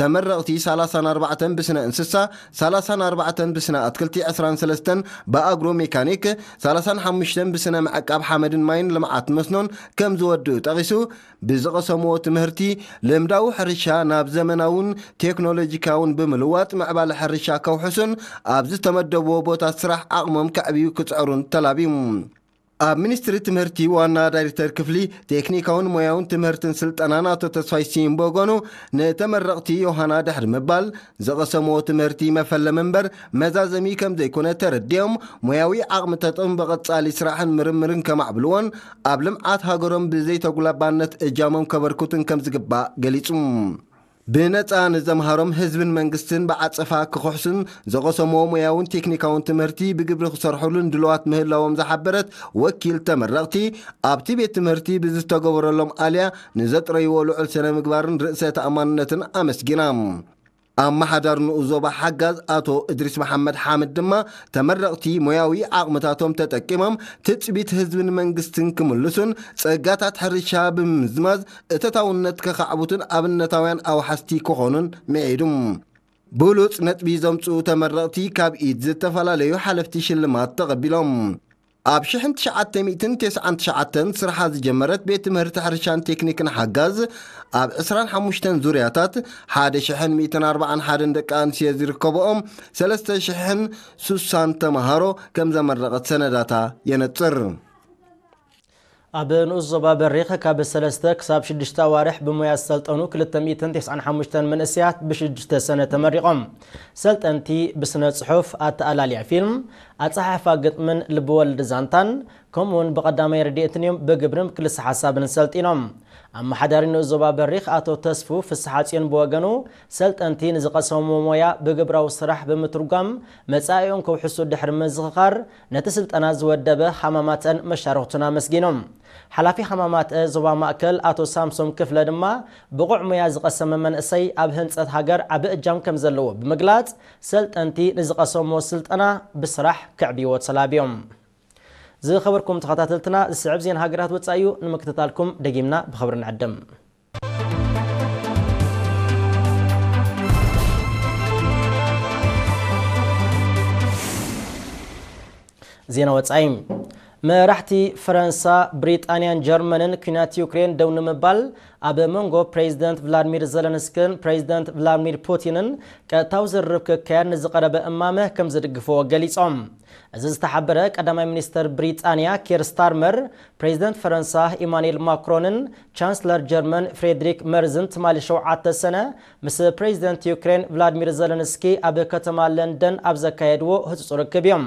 ተመረቕቲ ሰላሳን ኣርባዕተን ብስነ እንስሳ፣ ሰላሳን ኣርባዕተን ብስነ ኣትክልቲ፣ ዕስራን ሰለስተን ብኣግሮ ሜካኒክ፣ ሰላሳን ሓሙሽተን ብስነ ምዕቃብ ሓመድን ማይን ልምዓት መስኖን ከም ዝወድኡ ጠቒሱ፣ ብዝቐሰምዎ ትምህርቲ ልምዳዊ ሕርሻ ናብ ዘመናውን ቴክኖሎጂካውን ብምልዋጥ ምዕባለ ሕርሻ ከውሕሱን ኣብ ዝተመደብዎ ቦታ ስራሕ ዓቕሞም ከዕብዩ ክጽዕሩን ተላብዩ። ኣብ ሚኒስትሪ ትምህርቲ ዋና ዳይሬክተር ክፍሊ ቴክኒካውን ሞያውን ትምህርትን ስልጠናን ኣቶ ተስፋይ ሲም ብወገኑ፣ ንተመረቕቲ ዮሃና ድሕሪ ምባል ዝቐሰምዎ ትምህርቲ መፈለሚ እምበር መዛዘሚ ከም ዘይኮነ ተረዲኦም፣ ሞያዊ ዓቕሚ ተጠቕም ብቐጻሊ ስራሕን ምርምርን ከማዕብልዎን ኣብ ልምዓት ሃገሮም ብዘይተጉላባነት እጃሞም ከበርክቱን ከም ዝግባእ ገሊጹ። ብነጻ ንዘምሃሮም ህዝብን መንግስትን ብዓጸፋ ክኽሕሱን ዝቐሰምዎ ሞያውን ቴክኒካውን ትምህርቲ ብግብሪ ክሰርሑሉን ድልዋት ምህላዎም ዝሓበረት ወኪል ተመረቕቲ፣ ኣብቲ ቤት ትምህርቲ ብዝተገበረሎም ኣልያ ንዘጥረይዎ ልዑል ስነ ምግባርን ርእሰ ተኣማንነትን ኣመስጊና። ኣመሓዳሪ ንኡስ ዞባ ሓጋዝ ኣቶ እድሪስ መሓመድ ሓምድ ድማ፣ ተመረቕቲ ሞያዊ ዓቕምታቶም ተጠቂሞም ትጽቢት ህዝብን መንግስትን ክምልሱን ጸጋታት ሕርሻ ብምምዝማዝ እተታውነት ከኻዕቡትን ኣብነታውያን ኣውሓስቲ ክኾኑን ምዒዱ። ብሉጽ ነጥቢ ዘምጽኡ ተመረቕቲ ካብ ኢድ ዝተፈላለዩ ሓለፍቲ ሽልማት ተቐቢሎም። ኣብ ሽሕን ትሽዓተ ሚእትን ተስዓን ትሽዓተን ስርሓ ዝጀመረት ቤት ትምህርቲ ሕርሻን ቴክኒክን ሓጋዝ፣ ኣብ ዕስራን ሓሙሽተን ዙርያታት ሓደ ሽሕን ሚእትን ኣርባዓን ሓደን ደቂ ኣንስትዮ ዝርከብኦም ሰለስተ ሽሕን ሱሳን ተምሃሮ ከም ዘመረቐት ሰነዳታ የነጽር። ኣብ ንኡስ ዞባ በሪኽ ካብ ሰለስተ ክሳብ ሽዱሽተ ኣዋርሕ ብሞያ ዝሰልጠኑ ክልተ ሚእትን ተስዓን ሓሙሽተን መንእሰያት ብሽዱሽተ ሰነ ተመሪቖም። ሰልጠንቲ ብስነ ጽሑፍ፣ ኣተኣላልያ ፊልም፣ ኣጸሓሕፋ ግጥምን ልብወለድ ዛንታን፣ ከምኡውን ብቐዳማይ ረድኤትን እዮም ብግብርን ክልሰ ሓሳብን ሰልጢኖም። ኣመሓዳሪ ንኡስ ዞባ በሪኽ ኣቶ ተስፉ ፍስሓ ጽዮን ብወገኑ፣ ሰልጠንቲ ንዝቐሰምዎ ሞያ ብግብራዊ ስራሕ ብምትርጓም መጻኢኦም ከውሕሱ ድሕሪ ምዝኽኻር፣ ነቲ ስልጠና ዝወደበ ሃማማተን መሻርኽቱን ኣመስጊኖም። ሓላፊ ሃማማተ ዞባ ማእከል ኣቶ ሳምሶም ክፍለ ድማ፣ ብቑዕ ሞያ ዝቐሰመ መንእሰይ ኣብ ህንጸት ሃገር ዓቢ እጃም ከም ዘለዎ ብምግላጽ፣ ሰልጠንቲ ንዝቐሰምዎ ስልጠና ብስራሕ ከዕብይዎ ተላብዮም። ዝኸበርኩም ተኸታተልትና፣ ዝስዕብ ዜና ሃገራት ወጻኢ እዩ። ንምክትታልኩም ደጊምና ብኽብሪ ንዕድም። ዜና ወጻኢ። መራሕቲ ፈረንሳ፣ ብሪጣንያን ጀርመንን ኲናት ዩክሬን ደው ንምባል ኣብ መንጎ ፕሬዚደንት ቭላድሚር ዘለንስክን ፕሬዚደንት ቭላድሚር ፑቲንን ቀጥታዊ ዝርርብ ክካየድ ንዝቐረበ እማመ ከም ዝድግፍዎ ገሊጾም። እዚ ዝተሓበረ ቀዳማይ ሚኒስተር ብሪጣንያ ኪር ስታርመር፣ ፕሬዚደንት ፈረንሳ ኢማኑኤል ማክሮንን ቻንስለር ጀርመን ፍሬድሪክ መርዝን ትማሊ ሸውዓተ ሰነ ምስ ፕሬዚደንት ዩክሬን ቭላድሚር ዘለንስኪ ኣብ ከተማ ለንደን ኣብ ዘካየድዎ ህጹጽ ርክብ እዮም።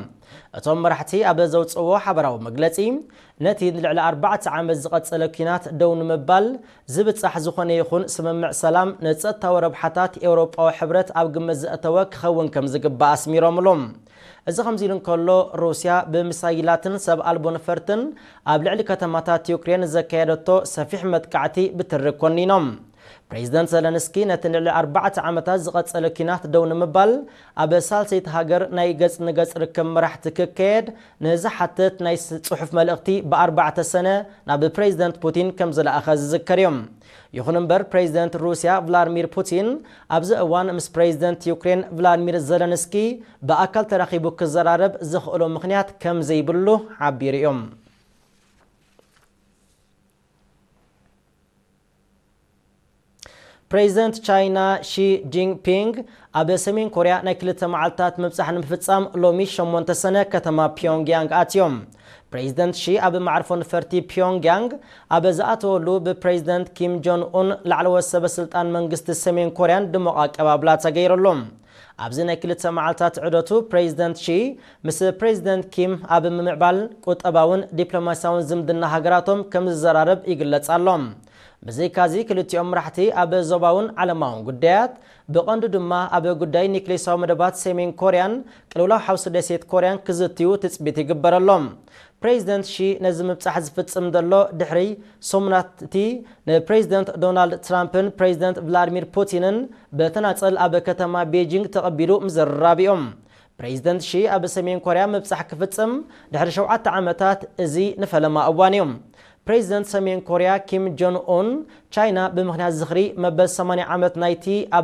እቶም መራሕቲ ኣብ ዘውጽእዎ ሓበራዊ መግለጺ፣ ነቲ ንልዕሊ ኣርባዕተ ዓመት ዝቐጸለ ኲናት ደው ንምባል ዝብጻሕ ዝኾነ ይኹን ስምምዕ ሰላም ንጸጥታዊ ረብሓታት ኤውሮጳዊ ሕብረት ኣብ ግምት ዘእተወ ክኸውን ከም ዝግባእ ኣስሚሮምሉ። እዚ ከምዚ ኢሉ እንከሎ፣ ሩስያ ብሚሳይላትን ሰብ ኣልቦ ነፈርትን ኣብ ልዕሊ ከተማታት ዩክሬን ዘካየደቶ ሰፊሕ መጥቃዕቲ ብትሪ ኮኒኖም። ፕሬዚደንት ዘለንስኪ ነቲ ልዕሊ ኣርባዕተ ዓመታት ዝቐጸለ ኲናት ደው ንምባል ኣብ ሳልሰይቲ ሃገር ናይ ገጽ ንገጽ ርክብ መራሕቲ ክካየድ ንዝሓትት ናይ ስ-፣ ጽሑፍ መልእኽቲ ብኣርባዕተ ሰነ ናብ ፕሬዚደንት ፑቲን ከም ዝለኣኸ ዝዝከር እዩ። ይኹን እምበር፣ ፕሬዚደንት ሩስያ ቭላድሚር ፑቲን ኣብዚ እዋን ምስ ፕሬዚደንት ዩክሬን ቭላድሚር ዘለንስኪ ብኣካል ተራኺቡ ክዘራረብ ዘኽእሎ ምኽንያት ከም ዘይብሉ ሓቢሩ እዩ። ፕሬዚደንት ቻይና ሺ ጂንፒንግ ኣብ ሰሜን ኮርያ ናይ ክልተ መዓልታት ምብጻሕ ንምፍጻም ሎሚ ሸሞንተ ሰነ ከተማ ፒዮንግያንግ ኣትዮም። ፕሬዚደንት ሺ ኣብ መዓርፎ ነፈርቲ ፒዮንግያንግ ኣብ ዝኣተወሉ፣ ብፕሬዚደንት ኪም ጆን ኡን ላዕለዎት ሰበ ስልጣን መንግስቲ ሰሜን ኮርያን ድሙቕ ኣቀባብላ ተገይሩሉ። ኣብዚ ናይ ክልተ መዓልታት ዑደቱ፣ ፕሬዚደንት ሺ ምስ ፕሬዚደንት ኪም ኣብ ምምዕባል ቁጠባውን ዲፕሎማስያውን ዝምድና ሃገራቶም ከም ዝዘራረብ ይግለጽ ኣሎ። ብዘይካዚ፣ ክልቲኦም መራሕቲ ኣብ ዞባውን ዓለማውን ጉዳያት፣ ብቐንዱ ድማ ኣብ ጉዳይ ኒክሌሳዊ መደባት ሰሜን ኮርያን ቅልውላው ሓውሲ ደሴት ኮርያን ክዝትዩ ትጽቢት ይግበረሎም። ፕሬዚደንት ሺ ነዚ ምብጻሕ ዝፍጽም ዘሎ ድሕሪ ሰሙናት እቲ ንፕሬዚደንት ዶናልድ ትራምፕን ፕሬዚደንት ቭላድሚር ፑቲንን ብተናጸል ኣብ ከተማ ቤጂንግ ተቐቢሉ ምዝርራብ እዮም። ፕሬዚደንት ሺ ኣብ ሰሜን ኮርያ ምብጻሕ ክፍጽም ድሕሪ ሸውዓተ ዓመታት እዚ ንፈለማ እዋን እዩ። ፕሬዚደንት ሰሜን ኮርያ ኪም ጆን ኡን፣ ቻይና ብምኽንያት ዝኽሪ መበል ሰማንያ ዓመት ናይቲ ኣብ